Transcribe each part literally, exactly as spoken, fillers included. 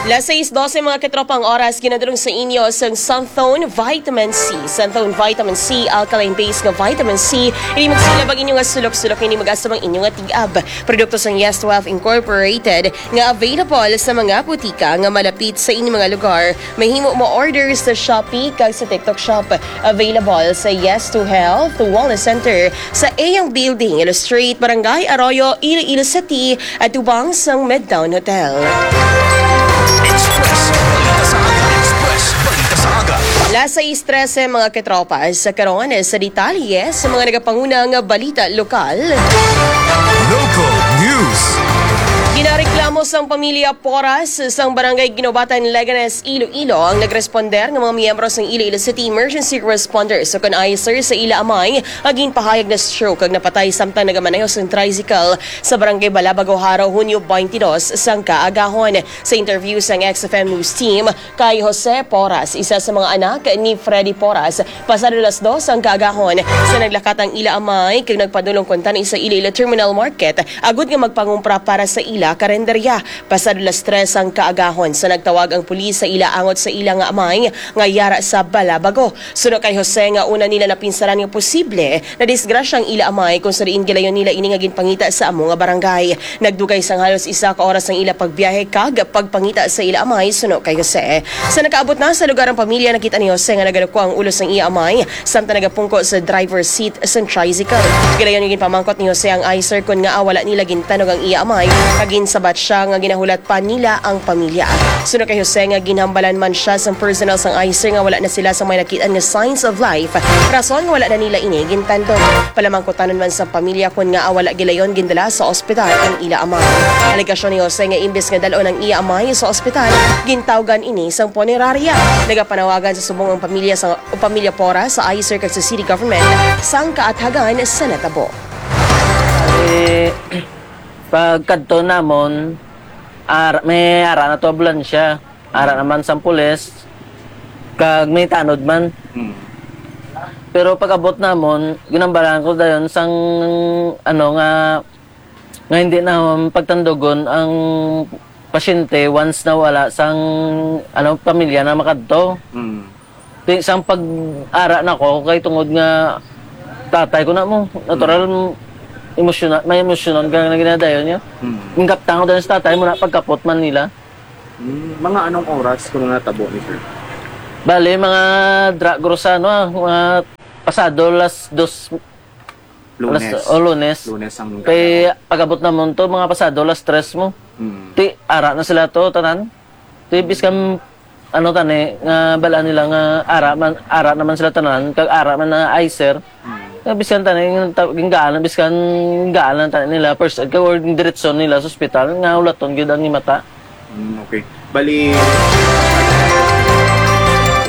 Las sais dose, mga katropa, ang oras, ginadulong sa inyo sang Santhone Vitamin C. Santhone Vitamin C, alkaline base nga vitamin C. Ini magsilab ang inyo nga sulok-sulok, ini mag-asam ang inyo nga tig-ab. Produkto sang Yes Twelve Incorporated nga available sa mga butika nga malapit sa inyo mga lugar. Mahimo mo order sa Shopee kag sa TikTok Shop. Available sa Yes to Health Wellness Center sa Eyang Building, Iloilo Street, Barangay Arroyo, Iloilo City, atubang sang Midtown Hotel. Express Balita sa Aga. Express Balita sa Aga. Las sais trese, mga katropa, sa karon sa detalye sa mga nagapanguna nga balita lokal. Local news. Ginareklamo sang pamilya Poras sang Barangay Guinobatan, Leganes, Iloilo ang nagresponder nga mga miyembro sang Iloilo City Emergency Responders o kon ICER sa ila amay nga ginpahayag na stroke kag napatay samtang nagamaneho sang tricycle sa Barangay Balabago, Jaro, Hunyo twenty-two sang kaagahon. Sa interview sang X F M News Team kay Jose Poras, isa sa mga anak ni Freddy Poras, pasado las dos ang kaagahon sa naglakat ang ila amay kag nagpadulong kuntani sa Iloilo Terminal Market agud nga magpangumpra para sa ila karenderya. Pasado las tres ang kaagahon sa nagtawag ang pulis sa ila angot sa ila nga amay nga yara sa Balabago. Suno kay Jose nga una nila napinsaran nga posible nadisgrasya ang ila amay kung sa diin gilayon nila ini nga ginpangita sa amo nga barangay. Nagdugay sang halos isa ka oras ang ila pagbiyahe kag pagpangita sa ila amay, suno kay Jose. Sa nakaabot na sa lugar ang pamilya, nakita ni Jose nga nagalukwa ang ulo sang iya amay samtang nagapungko sa driver's seat sang tricycle. Gilayon nga ginpamangkot ni Jose ang ICER kon ngaa wala nila gintanog ang iya amay, kag ginsabat siya nga ginahulat pa nila ang pamilya. Suno kay Jose nga ginhambalan man siya sang personnel sang ICER nga wala na sila sang may nakit-an nga signs of life, rason nga wala na nila ini gintandog. Palamangkutanon man sang pamilya kon ngaa wala gilayon gindala sa ospital ang ila amay. Alegasyon ni Jose nga imbes nga dal-on ang iya amay sa ospital, gintawgan ini sang punerarya. Nagapanawagan sa subong ang pamilya sa, o pamilya Poras sa ICER kag sa city government sang kaathagan sa natabo. Eh, pagkadto namon, ar-, may ara na to ambulansya, ara naman sang pulis, kag may tanod man. Hmm. Pero pag-abot namon, ginambalan ko dayon sang, ano, nga, nga hindi na pagtandugon ang pasyente once na wala sang, ano, pamilya na makadto. Hmm. Ti-, sang pag-ara na ko, kay tungod nga tatay ko na mo, natural, Mm. emosyonal, may emosyonan ka nga ginadayon niya. Mm. Ang kaptang ko dahil sa tatay mo na pagkapot man nila. Mm, mga anong oras kung natabo ni sir? Bale, mga dra-, grosa, ano, ah, mga pasado las dos, Lunes. Alas, oh, Lunes. Lunes ang Kay gagawin. Pag-abot namon to, mga pasado las tres mo. Mm. Ti, ara na sila to, tanan. Ti, biskan, ano, tani, nga balaan nila nga ara man, ara naman sila tanan, kag ara man na ICER. Mm. Nga biskan tani, yung ta-, yung gaan, biskan gaan tani nila, first aid, kag or diretso nila sa ospital, nga ulaton gyud ang imata. Mm, okay. Bali,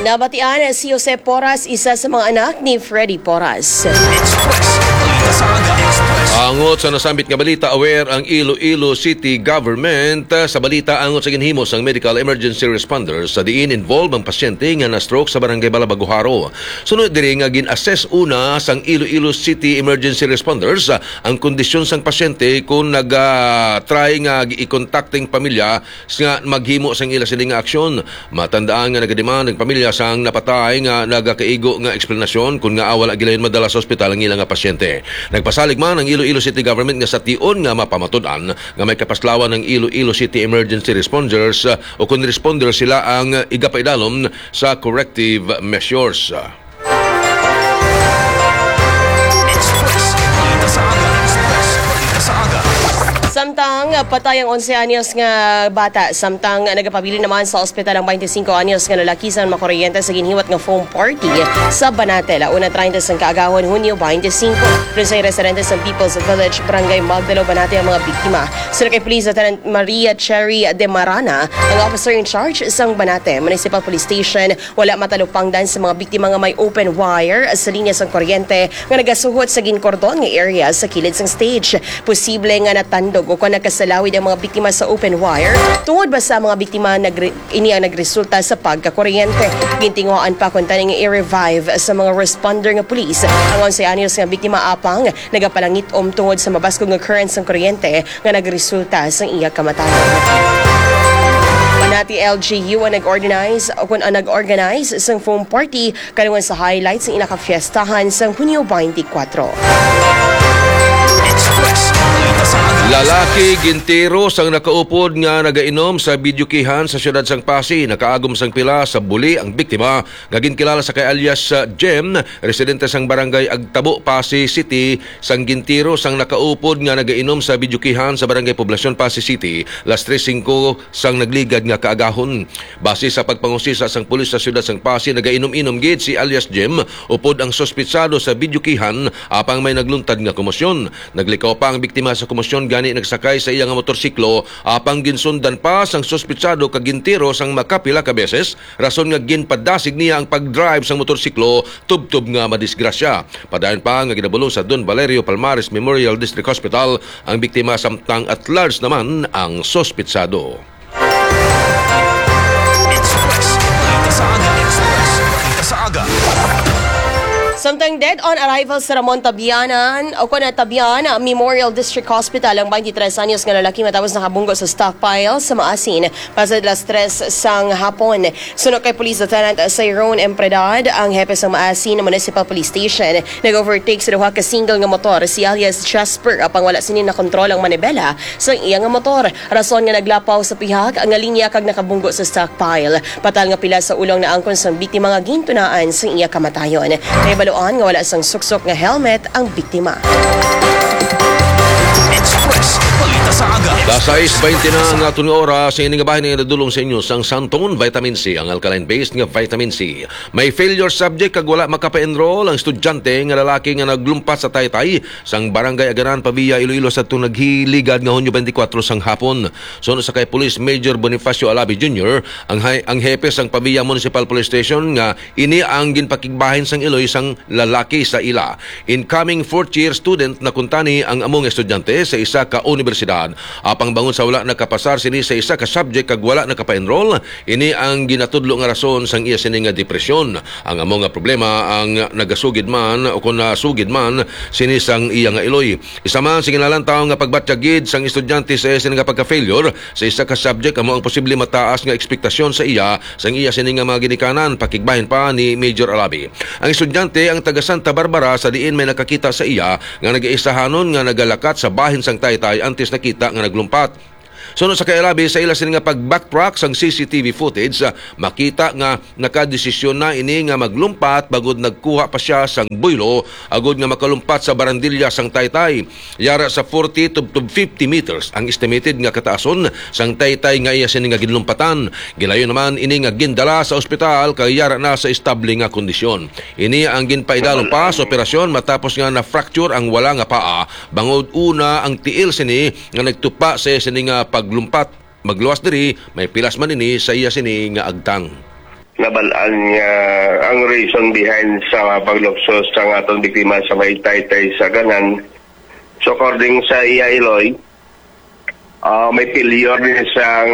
Nabatian si Jose Poras, isa sa mga anak ni Freddy Poras. Express. Balita sa Aga Express. Angot sa nasambit nga balita, aware ang Iloilo City Government, ah, sa balita angot sa ginhimo sang medical emergency responders sa diin involved ang pasyente nga na-stroke sa Barangay Balabago, Jaro. Sunod diri nga gin-assess una sang Iloilo City Emergency Responders, ah, ang kondisyon sang pasyente kung nag, ah, try nga i-contact ang pamilya nga maghimo sang ila sini nga aksyon. Matandaan nga nagademand ang pamilya sang napatay nga nagakaigo nga eksplanasyon kon ngaa wala gilayon madala sa ospital ang ila nga pasyente. Nagpasalig man ang Iloilo City Government nga sa tion nga mapamatud-an nga may kapaslawan ang Iloilo City Emergency Responders, uh, o kon responder sila ang igapaidalom sa corrective measures. Express. Balita sa Aga. Express. Balita sa Aga. Samtang patay ang onse anyos nga bata, samtang nagapabilin naman sa ospital ang twenty-cinco anyos nga lalaki sa makuryente sa ginhiwat nga foam party sa Banate, Launa treinta sang kaagahon, Hunyo twenty-cinco. Pero sa residente sa People's Village, Barangay Magdalo, Banate ang mga biktima. Suno kay Police Lieutenant Maria Cherry de Marana, ang officer in charge sang Banate Municipal Police Station, wala matalupangdan sa mga biktima nga may open wire sa linya sang kuryente nga nagasuhot sa ginkordon nga area sa kilid sang stage. Posible nga natandog o kon nakasalawid ang mga biktima sa open wire tungod ba sa mga biktima nagre-, ini ang nagresulta sa pagkakuryente. Gintinguhaan pa kon tani nga i-revive sa mga responder nga pulis ang onse anyos nga biktima, apang nagapalangit-om tungod sa mabaskog nga current sang kuryente nga nagresulta sa iya kamatayon. At T L G U ang nag-organize o kung ang nag-organize sang foam party kaluwan sa highlights sa ila ka fiestahan sang Hunyo twenty-four. Lalaki gintiro sang nakaupod nga nagainom sa videokehan sa siyudad sang Passi. Nakaagom sang pila sa buli ang biktima nga ginkilala sa kay alias, uh, Jem, residente sang barangay Agtabo, Passi City, sang gintiro sang nakaupod nga nagainom sa videokehan sa barangay Poblacion, Passi City, las tres singko sang nagligad nga kaagahon. Base sa pagpangusisa sang pulis sa siyudad sang Passi, nagainom-inom gid si alias Jem upod ang suspitsado sa videokehan apang may nagluntad nga komosyon. Naglikaw pa ang biktima sa komosyon gani nagsakay sa iya nga motorsiklo apang ginsundan pa sang suspitsado kag gintiro sang makapila ka beses, rason nga ginpadasig niya ang pag-drive sang motorsiklo tubtob nga madisgrasya. Padayon pa nga ginabulong sa Don Valerio Palmares Memorial District Hospital ang biktima samtang at large naman ang suspitsado. Express. Balita sa aga. Express. Balita sa aga. Samtang dead on arrival sa Ramon Tabianan o kon Tabian Memorial District Hospital ang twenty-tres anyos nga lalaki matapos nakabunggo sa stockpile sa Maasin pasad las tres sang hapon. Suno kay Police Lieutenant Cyrone Empredad, ang hepe sa Maasin Municipal Police Station, nag-overtake sa duha ka single nga motor si alias Jasper apang wala sini nakontrol ang manibela sa iya nga motor. Rason nga naglapaw sa pihak nga linya kag nakabunggo sa stockpile. Patal nga pila sa ulo ang naangkon sang biktima nga gintunaan sang iya kamatayon. Nahibaluan nga wala sang suksok nga helmet ang biktima. Express. Balita sa aga. Las sais baynte na ang aton nga oras. Sa ini nga bahin nga nadulong sa inyo sang Santon Vitamin C, ang alkaline-based nga vitamin C. May failure subject kag wala makapa-enroll ang estudyante nga lalaki nga naglumpat sa taytay sang Barangay Aganan, Pavia, Iloilo, sa atong naghiligad nga Hunyo twenty-four sang hapon. Suno sa kay Police Major Bonifacio Alabi Junior, ang hay-, ang hepe sang Pavia Municipal Police Station, nga ini ang ginpakigbahin sang iloy sang lalaki sa ila. Incoming fourth year student na kuntani ang amo nga estudyante sa isa ka unibersidad. Apang bangod sa wala nakapasar sini sa isa ka subject kag wala nakapa-enroll, ini ang ginatudlo nga rason sang iya sini nga depresyon. Ang amo nga problema ang nagasugid man o kon nasugid man sini sang iya nga iloy. Isa man sa ginalantaw nga pagbatyag gid sang estudyante sa iya sini nga pagka-failure sa isa ka subject amo ang posible mataas nga ekspektasyon sa iya sang iya sini nga mga ginikanan, pakigbahin pa ni Major Alabi. Ang estudyante ang taga Santa Barbara, sa diin may nakakita sa iya nga nagaisahanon nga nagalakat sa bahin sang taytay antes nakita nga naglumpat. Suno sa kay Alabi, sa ila sini nga pag-backtrack sang C C T V footage, ah, makita nga nakadesisyon na ini nga maglumpat bangod nagkuha pa sia sang buylo agod nga makalumpat sa barandilya sang taytay. Yara sa forty to, to fifty meters ang estimated nga kataason sang taytay nga iya sini nga ginlumpatan. Gilayon naman ini nga gindala sa ospital kay yara na sa estable nga kondisyon. Ini ang ginpaidalom pa sa operasyon matapos nga na-fracture ang wala nga paa, bangod una ang tiil sini nga nagtupa sa iya sini nga paglumpat. Magluwas diri, may pilas man ini sa iya sini nga agtang. Nabal-an nga ang reason behind sa paglukso sang aton biktima sa may taytay sa Aganan. So, according sa iya iloy, ah, may failure ni sang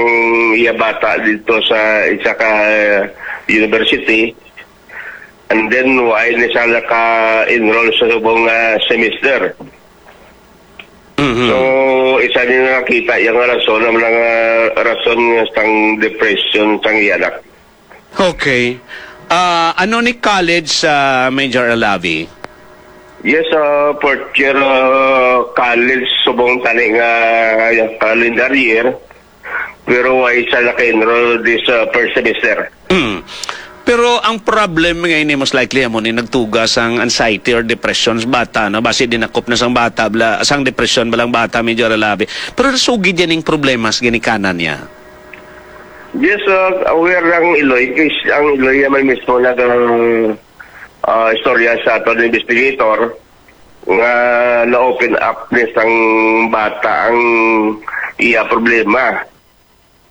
iya bata dito sa isa ka university. And then, why ni siya naka-enroll sa subong nga semester? Mhm. So, isa ni nakita iya nga rason, ang mga rason nga sang depression sang iya anak. Okay. Ah, ano ni college, ah, Major Alavi? Yes, ah, fourth year, ah, college, subong tani nga calendar year. Pero why siya naka-enroll this, ah, first semester? Mm. Pero ang problem nga ini, most likely, amo ni nagtuga sang anxiety or depression sa bata, no? Basi dinakop na sang bata, bala, sang depression, balang bata, Major Alavi. Pero nasugid yan yung problema sa ginikanan niya. Yes, uh, aware ang iloy. Kay ang iloy naman mismo nag, uh, istorya sa aton investigator nga na-open up ni sang bata ang iya problema.